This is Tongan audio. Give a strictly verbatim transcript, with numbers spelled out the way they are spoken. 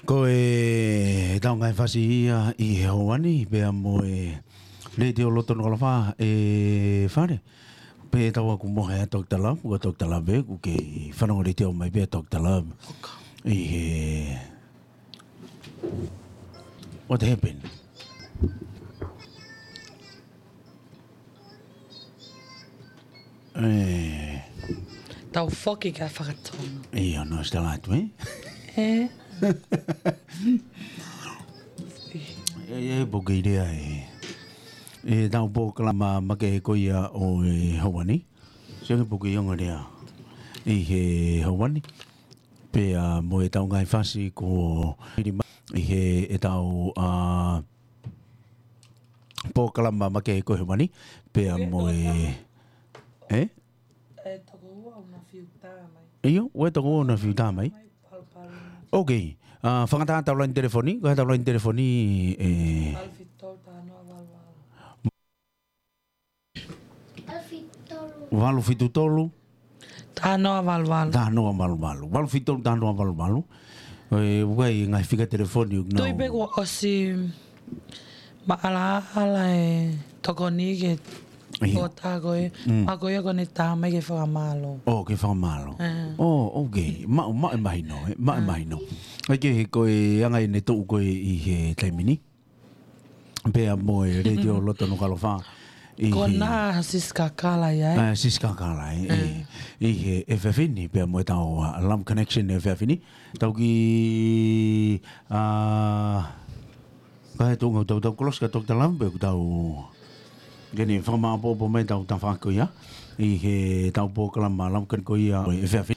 Ko e tau ngaahi fasi ia ʻi he houa ni, pea mo e Letiō Loto Nukuʻalofa ē Fale. Pea tau ako mo e Doctor Love, ko Doctor Love ē, ʻoku kei fanongo letiō mai pē Doctor Love. ʻI he, what happened? ʻE. Tau foki ki he fakatonga. ʻIo, no, sitala atu, ē? ʻE. ʻE, ʻe, poki lea ē. ʻE, tau polokalama makehe ko ia ʻo e houa ni. Sio ki he poki ongo lea. ʻI he houa ni. Pea mo e tau ngaahi fasi ko ʻi he ʻetau, ʻa, polokalama makehe ko e houa ni, pea mo e, ē? ʻE toko ua ʻoku na fiu tā mai. ʻIo, ʻoku toko ua ʻoku na fiu tā mai. Palu, palu. Ok. ʻA, fakatātā ʻetau laine telefoni, ko ʻetau laine telefoni, ē. Valu fitu tolu taha noa valu valu. Valu fitu tolu. Taha noa valu valu. Taha noa valu valu. Valu fitu tolu taha noa valu valu. ʻE, ʻoku ʻi ai e ngaahi fika telefoni ʻoku nau. Tui pē kuo ʻosi maʻalaʻala e tokoni ke. ʻIo. ʻO tā ko ē. Mm. Pea ko ia ko ʻene tā mai ke fakamālō. ʻO, ke fakamālō. ʻE. ʻO, ok. Maʻu, maʻu e mahino, ē. Maʻu e mahino. ʻE ke he ko e anga ʻene tuʻu ko ē ʻi he taimi ni. Pea mo e Letiō Loto Nukuʻalofa. ʻI he. Ko ena Siska Kala ia, ē? ʻA, Siska Kala, ē, ʻi, ʻi he efiafi ni, pea mo e tau, ʻa, Love Connection efiafi ni. Tau ki, ʻa, ka he tau, tau, tau kolosi ka tau tala, pea ʻoku tau, ke ne fakamāʻopoʻopo mai tau tafaʻaki ko ia. ʻI he tau polokalama Love Connection ko ia, efiafi